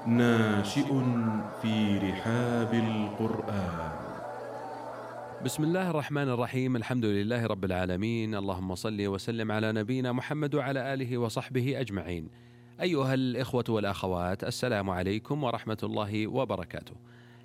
ناشئ في رحاب القرآن. بسم الله الرحمن الرحيم. الحمد لله رب العالمين، اللهم صل وسلم على نبينا محمد وعلى آله وصحبه أجمعين. أيها الإخوة والأخوات، السلام عليكم ورحمة الله وبركاته.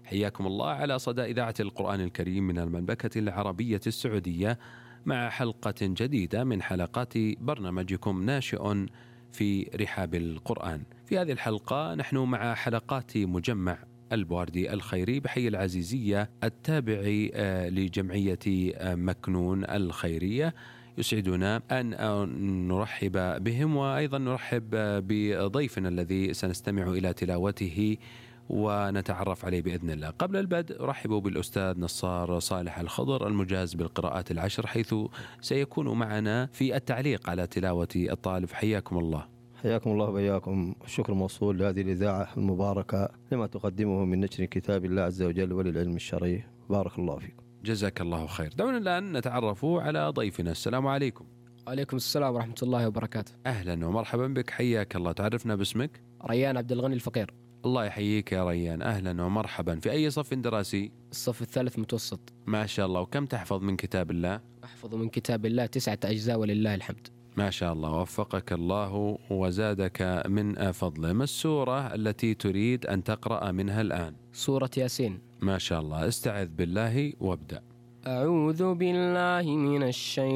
حياكم الله على صدى إذاعة القرآن الكريم من المملكة العربية السعودية، مع حلقة جديدة من حلقات برنامجكم ناشئ في رحاب القرآن. في هذه الحلقة نحن مع حلقات مجمع البواردي الخيري بحي العزيزية التابع لجمعية مكنون الخيرية. يسعدنا أن نرحب بهم، وأيضا نرحب بضيفنا الذي سنستمع إلى تلاوته ونتعرف عليه بإذن الله. قبل البدء رحبوا بالأستاذ نصار صالح الخضر المجاز بالقراءات العشر، حيث سيكون معنا في التعليق على تلاوة الطالب. حياكم الله. حياكم الله وبياكم. الشكر موصول لهذه الإذاعة المباركة لما تقدمه من نشر كتاب الله عز وجل وللعلم الشرعي. بارك الله فيكم. جزاك الله خير. دعونا الآن نتعرف على ضيفنا. السلام عليكم. وعليكم السلام ورحمة الله وبركاته. أهلا ومرحبا بك، حياك الله. تعرفنا باسمك؟ ريان عبد الغني الفقير. الله يحييك يا ريان، أهلا ومرحبا. في أي صف دراسي؟ الصف الثالث متوسط. ما شاء الله. وكم تحفظ من كتاب الله؟ أحفظ من كتاب الله 9 أجزاء ولله الحمد. ما شاء الله، وفقك الله وزادك من فضله. ما السورة التي تريد أن تقرأ منها الآن؟ سورة ياسين. ما شاء الله. استعذ بالله وابدأ. أعوذ بالله من الشيطان